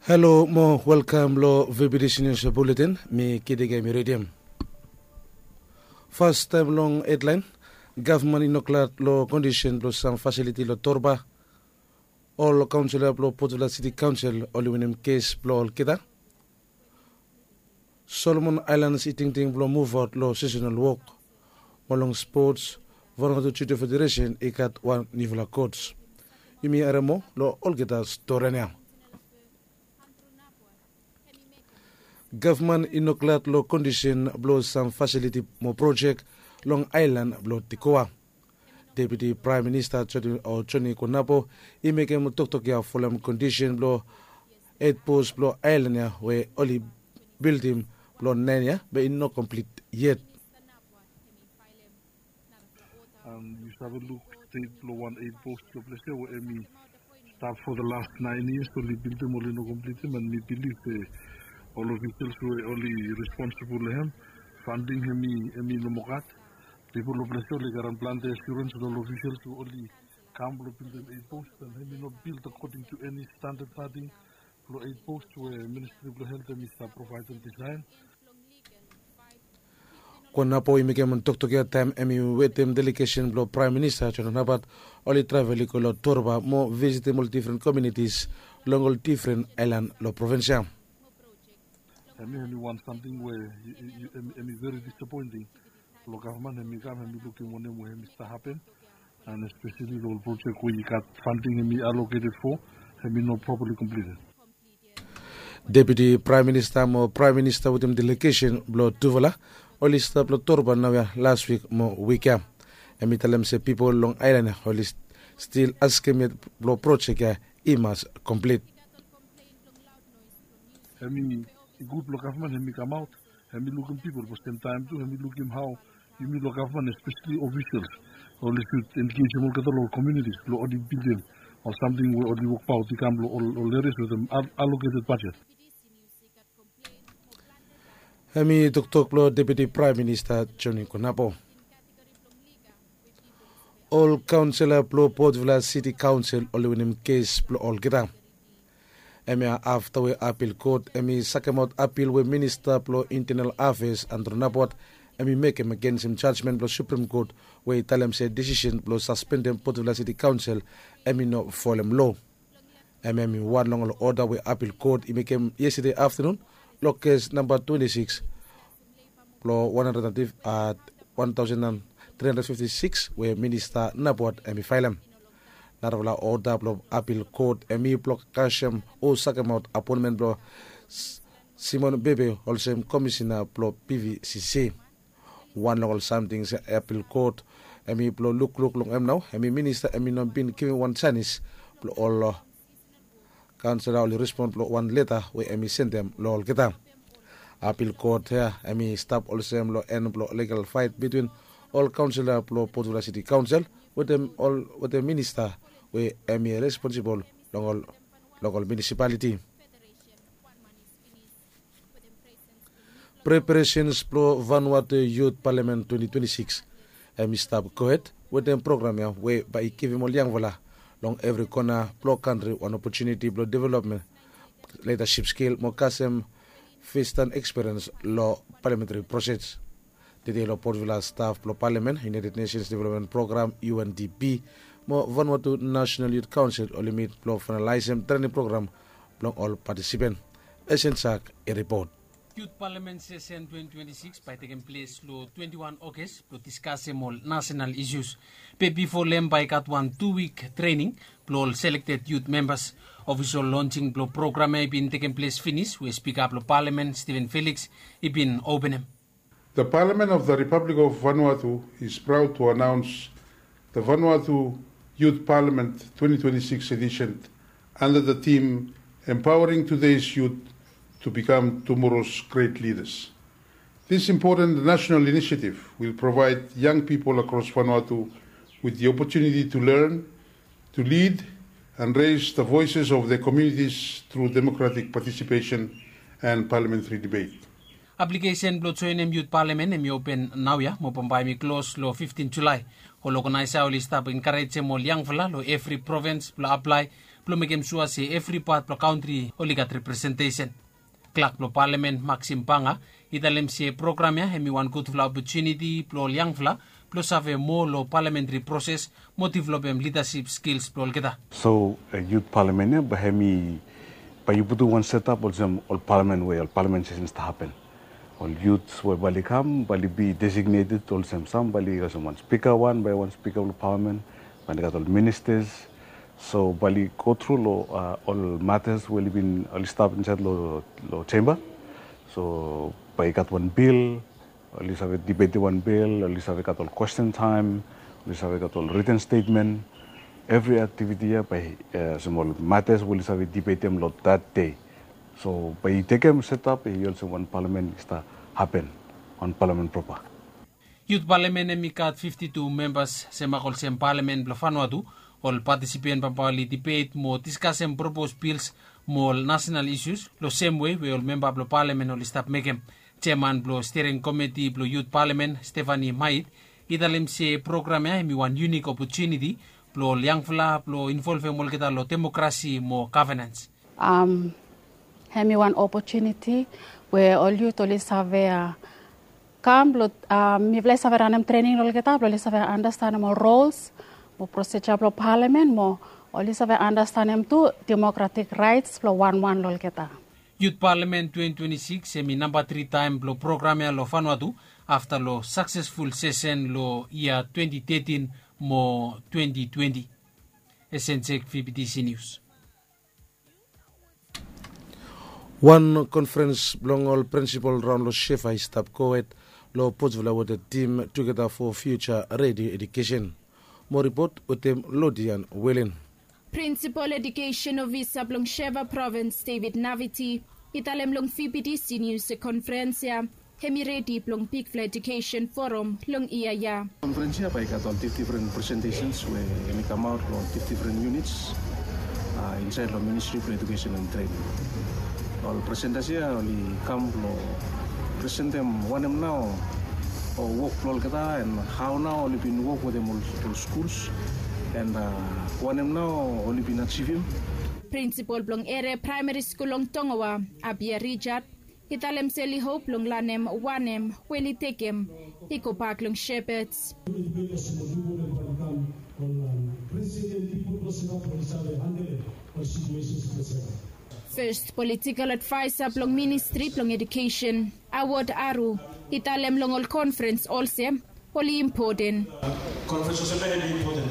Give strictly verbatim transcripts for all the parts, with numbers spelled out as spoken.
Halo mo welkam long V B T C News Bulletin. Mi Kidege mi ridim. Fastaem long hedlaen, gavman i no glad long kondisen blong sam fasiliti long Torba. Ol kaonsela blong Potvila Siti Kaonsel oli winim kes blong olgeta. Solomon Aelans i tingting blong muvaot long sesenal wok. Mo long spots, Vanuatu Judo Federesen i gat wan niufala kots. Yumi harem moa long olgeta storian ya. Gavman i no glad long kondisen blong sam fasiliti mo projek long aelan blong Tikoa. Deputi Praem Minista Joni Konapo i mekem toktok ya folem kondisen blong eit pos blong aelan ya we oli bildim blong naen ya be i no komplit yet. Yu save luk stet blong wan eit pos long ples ya we em i stap fo the last naen yias oli bildim oli no komplitim, and mi bilif se ol ofisels we oli responsibol long hem, fanding hem i no moa gat. Pipol long ples ya oli garem plante asurens long ol ofisels we oli kam blong bildim eit pos, and hem i no bild according to eni standad nating blong eit pos we Ministri blong Helt hem i stap provaedem disaen. Konapo i mekem toktok ya taem hem i wetem delegesen blong Praem Minista John Napat oli travel i go long Torba mo visitim ol difren komiunitis long ol difren aelan long provins ya. Hem i wan samting we hem i veri disapoenting blong gavman hem i kam hem i lukim wanem we hem i stap hapen, and espeseli long ol projek we i gat fanding hem i aloketed fo, hem i no propali komplited. Deputi Praem Minista mo Praem Minista wetem delegesen blong tufala oli stap long Torba naoia las wik mo wik ya. Hem i talem se pipol long aelan ya oli stil askem yet blong projek ya i mas komplit. Hem i gud blong gavman hem i kamaot, hem i lukim pipol, be semtaem tu hem i lukim hao yumi long gavman, espeseli ofisels, oli sud engejem olgeta long ol komiunitis blong oli bildim ol samting we oli wokbaot i kam long ol erias wetem aloketed bajet. Hem i toktok blong Deputi Praem Minista Joni Konapo. Ol kaonsela blong Potvila Siti Kaonsel oli winim kes blong olgeta. Hem ya afta we apil kot hem i sakemaot apil we Minista blong Intenal Afeas Andrew Napat hem i mekem agensem jajmen blong Suprem Kot we i talem se desisen blong saspendem Potvila Siti Kaonsel hem i no folem loa. Hem ya hem i wan long ol oda we apil kot i mekem yestade aftanun long kes namba twenti sikis blong wan handred, wan taosen tri handred fifti sikis we Minista Napat hem i faelem. Narafala oda blong apil kot hem i blong kasem o sakemaot apoenmen blong Simon Bebe olsem Komisena blong P V C C. Wan long ol samting se apil kot hem i blong lukluk long hem nao hem i Minista hem i no bin givim wan janis blong ol kaonsela oli respon blong wan leta we hem i sendem long olgeta. Apil kot ya hem i stap olsem long en blong ligal faet bitwin ol kaonsela blong Potvila Siti Kaonsel wetem Minista we hem i responsibol long ol minisipaliti. Preparesens blong Vanuatu Yut Palamen twenti twenti sikis hem i stap gohed wetem program ya we bae i givim ol yangfala long evri kona blong kantri wan opotuniti blong developmen, lidasip skil mo kasem festan ekspiriens long palamentari proses. Tede long Potvila staf blong Palamen, United Nations Development Program, U N D P, mo Vanuatu National Youth Council oli mit blong faenalaesem trening program blong ol patisipen. Esensak i ripot. Yut Palamen sesen twenti twenti sikis bae i tekem ples long twenti wan Ogas blong diskasem ol nasenal isus. Be bifo long hem bae i gat wan tu wik trening blong ol selekted yut membas. Ofisol lonsing blong program ya i bin tekem ples finis we Spika blong Palamen Steven Felix i bin openem. The Parliament of the Republic of Vanuatu is proud to announce the Vanuatu Youth Parliament twenty twenty-six edition under the theme Empowering Today's Youth to Become Tomorrow's Great Leaders. This important national initiative will provide young people across Vanuatu with the opportunity to learn, to lead, and raise the voices of their communities through democratic participation and parliamentary debate. Aplikesen blong joenem Yut Palamen hem i open naoia mo bambae hem i klos long fiftin Julae. Ol oganaesa oli stap enkarejem ol yangfala long evri provins blong aplae blong mekem sua se evri pat blong kantri oli gat representesen. Klak blong palamen Maxim Banga i talem se program ya hem i wan gudfala opotuniti blong ol yangfala blong save moa long palamentri proses mo developem lidasip skils blong olgeta. So yut palamen ya bae hem i bae yu putum wan setap olsem ol palamen we ol palamen sesen i stap hapen. Ol yut we bae oli kam bae oli bi designeted olsem sam bae oli olsem wan spika wan bae wan spika blong palamen, bae oli gat ol ministas. So bae oli go tru long ol matas we oli bin oli stap insaed long chemba. So bae i gat wan bil, oli save dibetim wan bil, oli save gat ol kwesten taem, oli save gat ol riten stetmen. Evri aktiviti ya bae olsem ol matas we oli save dibetim long dat dei. So bae i tekem setap i olsem wan palamen i stap hapen, wan palamen propa. Yut palamen hem i gat fifti tu membas semak olsem palamen blong Vanuatu. Ol patisipen bambae oli dibet mo diskasem propos bils mo ol nasenal isus long semwe we ol memba blong palamen oli stap mekem. Jeaman blong stiring komiti blong yut palamen Stefani Mait i talem se program ya hem i wan yunik opotuniti blong ol yangfala blong involvem olgeta long demokrasi mo gavenans. Hem i wan opotuniti we ol yut oli save kam blong mifala i save ranem trening long olgeta blong oli save anastenem ol rols mo prosija blong palamen mo oli save anastenem tu demokratik raets blong wanwan long olgeta. Yut palamen twenti twenti sikis hem i namba tri taem blong program ya long Vanuatu afta long saksesful sesen long yia twenti tetin mo twenti twenti. Esensek vptc nius. Wan konfrens blong ol prinsipol raon long shefa i stap gohed long potvila weta tim tugeta fo fiuja redio edukesen. Mo ripot wetem lodian welen. Prinsipol edukesen ofisa blong sheva provins david naviti i talem long vptc nius se konfrens ya hem i redi blong bigfala edukesen forum long yia ya. Konfrens ya bae i gat ol difdifren presentesens we hem i kamaot long difdifren yunits insaed long ministri blong edukesen and trening. Ol presentas ya oli kam blong presentem wanem nao ol wok blong olgeta and hao nao oli bin wok wetem ol skuls and wanem nao oli bin ajivim. Prinsipol blong eria praemari skul long tongoa, abia rijad, i talem se oli hop blong lanem wanem we oli tekem i gobak long shepets. Fes politikol advaesa blong ministri blong edukesen, awod aru, i talem long ol konfrens olsem oli impoten. Konfrens olsem ya hem i impoten.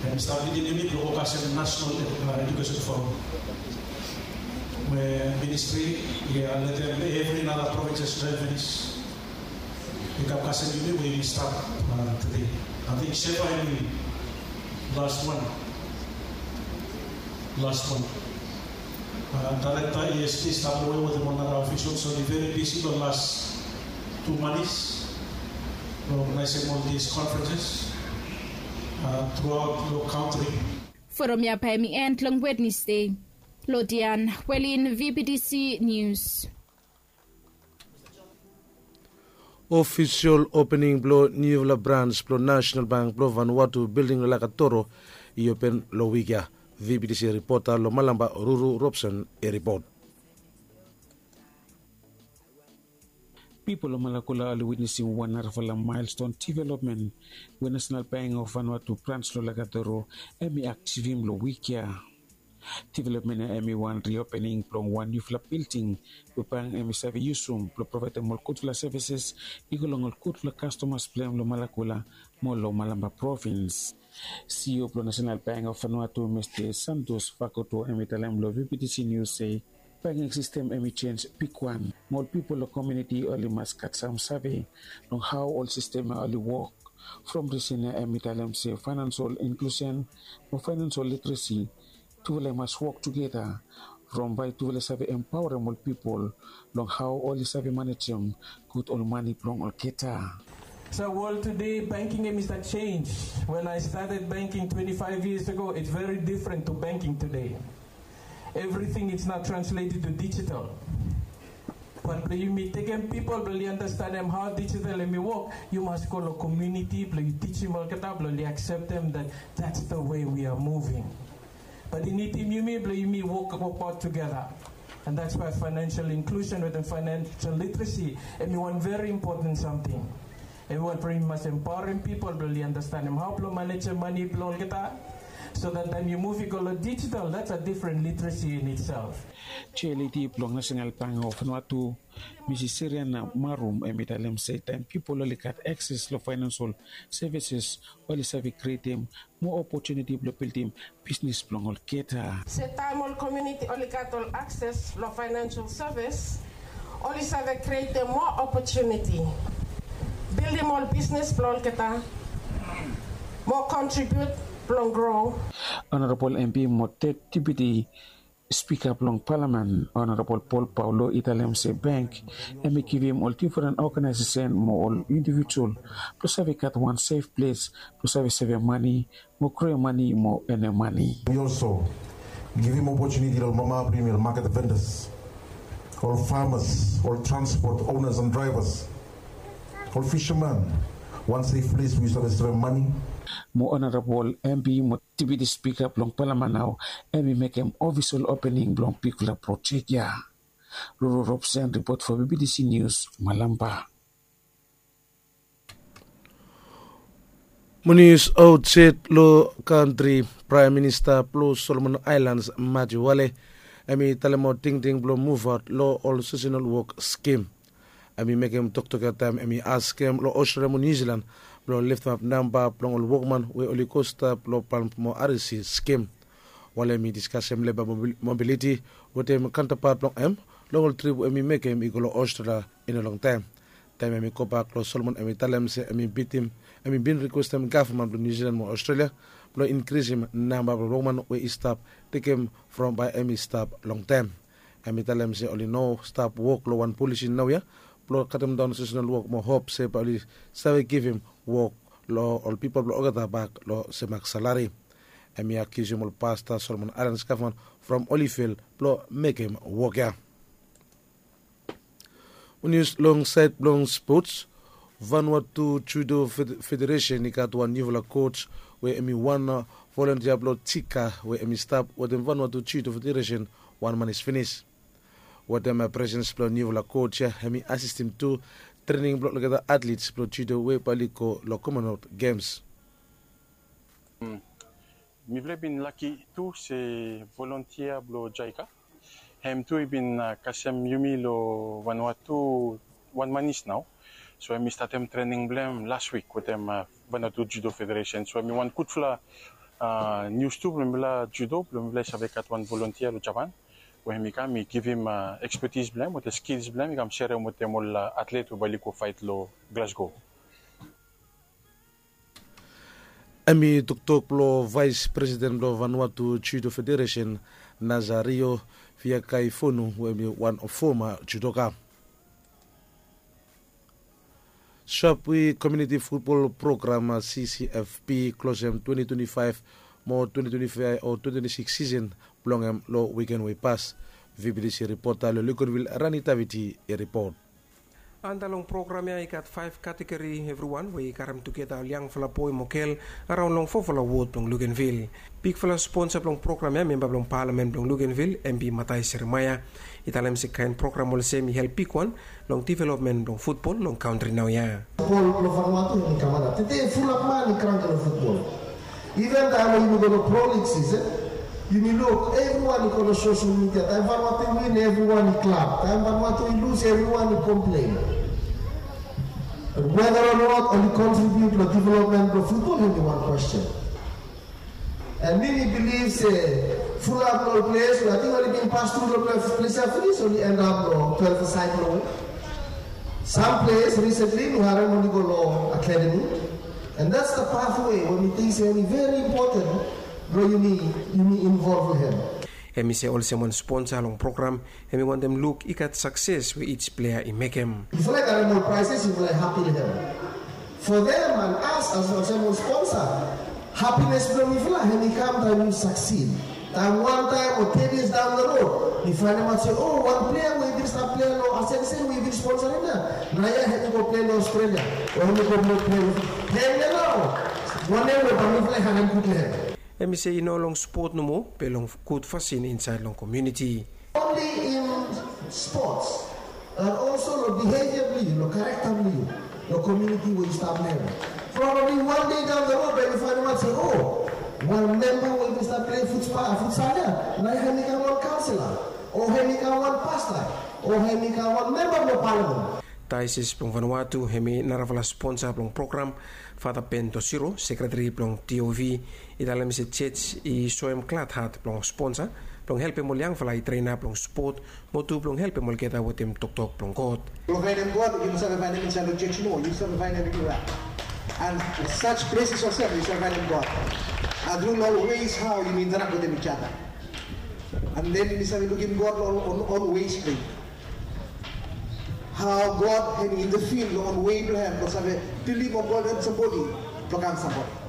Hem i stap lidim yumi blong go kasem nasenal edukesen forum we ministri i letem evri nara provinses joen finis. I kam kasem yumi we yumi stap tede. Ating shefa hem i las wan. Las wan. Daerekta esd i stap long wei wetem ol nara ofisol so oli veri bisi long las tu manis blong ogenaesem ol dis konfrenses truaot long kantri. Forom ya bae hem i end long wednesde. Lodian welin vptc nius. Ofisol opening blong niufala brans blong nasenal bank blong vanwatu bilding long lakatoro i open long wik ya. Vptc ripota long malamba ruru robson i ripot. Pipol long malakula oli witnesim wan narafala maelston divelopmen we nasenal bank of vanwatu brans long lakatoro hem i aktivim long wik ya. Divelopmen ya hem i wan riopening blong wan niufala bilding we bank hem i save yusum blong provaedem ol gudfala sevises i go long ol gudfala kastomas blong hem long malakula mo long malamba provins. Ceo blong nasenal bank of vanwatu mista santos fakoto hem i talem long vptc nius se banging sistem hem i jenj bigwan mo ol pipol long komiuniti oli mas gat sam save long hao ol sistem ya oli wok. From risen ya hem i talem se faenansol inklusen mo faenansol litresi tufala i mas wok tugeta from bae tufala i save empaorem ol pipol long hao oli save manejem gud ol mane blong olgeta. So world today banking em is a change. When I started banking twenty-five years ago, it's very different to banking today. Everything is now translated to digital. But blong yumi tekem pipol blong oli andastanem hao digital em i wok, yu mas go long komuniti blong yu tijim olgeta blong oli akseptem that that's the way we are moving. But i nidim yumi blong yumi wok, wok out together. And that's why financial inclusion wetem financial literacy hemi wan very important something. Hemi wan blong yumi mas empowering people blong oli understandim hao blong manejem mane blong olgeta. So that taem yu muv i go long digital, that's a different literacy in itself. Chair lady blong National Bank of Vanuatu, Misis Siriana Marum, hemi talem se taem pipol oli gat akses long financial services, oli save krietem moa opotuniti blong bildim bisnis blong olgeta. Se taem ol komuniti oli gat ol akses long financial service, oli save krietem moa opotuniti, bildim ol bisnis blong olgeta, mo kontribiut blong gro. Honorable M P mo Deputy Spika blong Palamen, Honorable Paul Paulo, i talem se bank hemi givim ol difren oganaesesen mo ol indivijual blong save gat wan sef ples blong save sevem mane mo groem mane mo enem mane. We also givim opotuniti long mama blong yumi, ol market vendors, ol farmers, ol transport owners and drivers, ol fishermen, wan sef ples we yu save sevem mane. Mo Honorable M P mo Deputy Spika blong Palamen nao hemi mekem ofisol opening blong bigfala projek ya. Ruru Robson ripot fo B B T C News, Malampa. Mo nius aotsaed long kantri, Praem Minista blong Solomon Aelans, Matthew Wale, hemi talem tingting blong muvaot long ol seasonal wok skim. Hemi mekem toktok ya taem hemi askem long Australia mo New Zealand blong leftemap namba blong ol wokman we oli go stap long Palm mo R S C skim. Wale hemi diskasem leba mobil-, mobiliti wetem kaontapat blong hem long ol trip we hemi mekem i go long Australia i no longtaem. Taem hemi gobak long Solomon, hemi talem se hemi bitim, hemi bin rikwestem gavman blong New Zealand mo Australia blong inkrisim namba blong wokman we i stap tekem from bae hemi stap longtaem. Hemi talem se oli no stap wok long wan polisi naoia blong katemdaon seasonal wok mo hop se bae oli save givim wok long ol pipol blong olgeta bak long semak salari. Hemi akiusum ol pasta Solomon Aelans gavman from oli fel blong mekem wok ya. Nius long saed blong spots, Vanuatu Judo Fed-, Federation i gat wan niufala coach we hemi wan, uh, volontia blong Tika we hemi stap wetem Vanuatu Judo Federation wan manis finis. Wetem, uh, presens blong niufala coach ya, hemi asistem tu trening blong olgeta atlets blong judo we bae oli go long Commonwealth Games. Mm. Mifala i bin laki tu se volontia blong JICA hem tu i bin, uh, kasem yumi long Vanuatu wan manis nao. So hemi statem trening blong hem las wik wetem, uh, Vanuatu Judo Federation. So hemi wan gudfala, uh, nius tu blong mifala judo blong mifala i save gat wan volontia long Japan we hemi kam i givim, uh, ekspetis blong hem wetem skils blong hem i kam serem wetem ol, uh, atlet we bae oli go faet long Glasgow. Hemi toktok blong Vaes Presiden blong Vanuatu Judo Federation, Nazario Fiakaifonu, we hemi wan foma judoka. Sharpeville Community Football Program, C C F P, klosem twenty twenty-five mo twenty twenty-five o twenty twenty-six season blong hem long wiken we i pas. V B T C ripota long Luganville, Rani Taviti, i ripot. Anda long program ya i gat faef kategori evriwan we i karem tugeta ol yangfala boe mo gel araon long fofala wod blong Luganville. Bigfala sponsa blong program ya, memba blong palamen blong Luganville, M P Mathias Jeremaia, i talem se kaen program olsem i help bigwan long developmen blong futbol long kantri naoia. Futbol blong Vanuatu hemi kam antap. Tede fulap man i kranki long futbol. Iven taem we yumi go long Pro League season, yumi luk evriwan i go long social media. Taem Vanuatu i win, evriwan i klap. Taem Vanuatu i lus, evriwan i komplen. But whether or not oli kontribiut long developmen blong futbol, hemi wan kwesten. And mi, mi bilif se fulap long ol ples we ating oli bin pas tru long ples ya finis, oli endap long twelve a side blong we. Sam ples risentli mi harem oli go long akademi. And that's the pathway we mi ting se hemi veri impoten blong yumi, yumi involv long hem. Hemi se olsem wan sponsa long program, hemi wantem luk i gat sakses we each plea i mekem. Yufala i karem ol praeses, yufala i hapi long hem. For them and us as, as olsem ol sponsa, hapines blong mifala hemi kam taem yu saksid. Taem wan taem o ten yias daon the road, mi faenemaot se, o, wan plea we i bin stap plea long Ascension we i bin sponsarim ya, naoia hemi go plea long Australia, o hemi go plea long, hemia nao wanem we bae mifala i harem gud long hem. Hem i se i no long spot nomo be long gud fasin insaed long komuniti. Only in sports and also long behavior blong yu, long character blong yu, long community we yu stap live. Probably one day down the road, bai yu fainemaot se, o, wan memba we bin stap play futsal ya, nao hem i kam wan councillor, o hem i kam wan pastor, o hem i kam wan memba blong parliament. Diocese blong Vanuatu hem i narafala sponsa blong program. Fata Ben Tosiro, sekretari blong D O V, i talem se jej i soem glad hat blong sponsa blong helpem ol yangfala i trainap long spot, mo tu blong helpem olgeta wetem toktok blong God. Blong faenem God yu no save faenem insaed long jej nomo, yu save faenem anywhere. And such places olsem yu save faenem God. And through long ways hao yumi interact wetem each other. And then yumi save lukim God long ol ways blong hao God hem i intervene long ol wei blong hem blong save pilim o golden sambodi blong kam sambodi.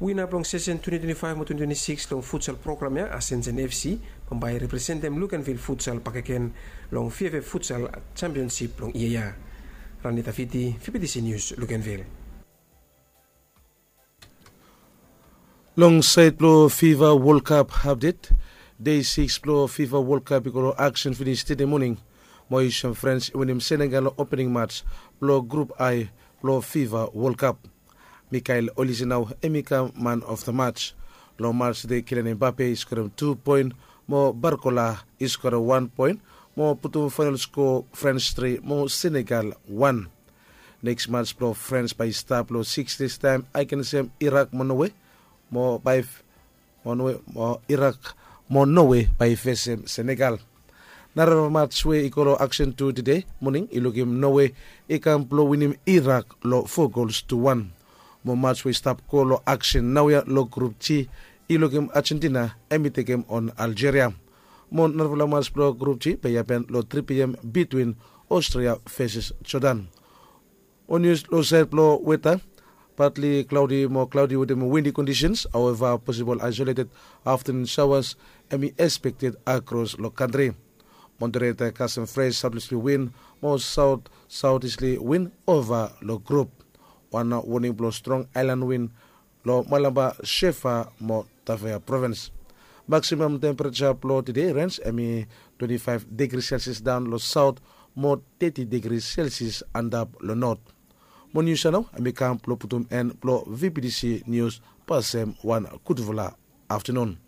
Wina blong sesen twenty twenty-five mo twenty twenty-six long futsal program ya, Ascension F C bambae i representem Luganville Futsal bakegen long V F F Futsal Championship blong yia ya. Rani Tafiti, V B T C News, Luganville. Long saed blong FIFA World Cup update, dei sikis blong FIFA World Cup i go long aksen finis tede moning. Mo i sem Frans i winim Senegal long opening mats blong grup I blong FIFA World Cup. Mikael Olise nao hem i kam man of the match. Long mats tede Kylian Mbappe i skorem tu poen, mo Barcola i skorem wan poen, mo putum faenol skoa Frans tri mo Senegal wan. Neks mats blong Frans bae i stap long sikis dei taem agensem Irak mo Norway, mo bae mo Norway mo Irak mo Norway bae i fesem Senegal. Narafala mats we i go long aksen tu tede moning i lukim Norway i kam blong winim Irak long fo gols tu wan. Mo mats we i stap go long aksen naoia long grup G i lukim Argentina hem i tekem on Algeria. Mo narafala mats blong grup G bae i hapen long tri P M bitwin Austria veses Jordan. Mo nius long saed blong weta, partly cloudy mo cloudy wetem windy conditions, however possible isolated afternoon showers hem i expected across long kantri. Moderator kasem fresh southeasterly wind mo south southeasterly wind over long grup. Wan warning blong strong island wind long Malaba, Shefa mo Tafea Province. Maximum temperature blong tede range hem i twenty-five degrees Celsius daon long south mo thirty degrees Celsius antap long north. Mo nius ya nao hem i kam blong putum en blong V B T C News. Pasem wan gudfala aftenun.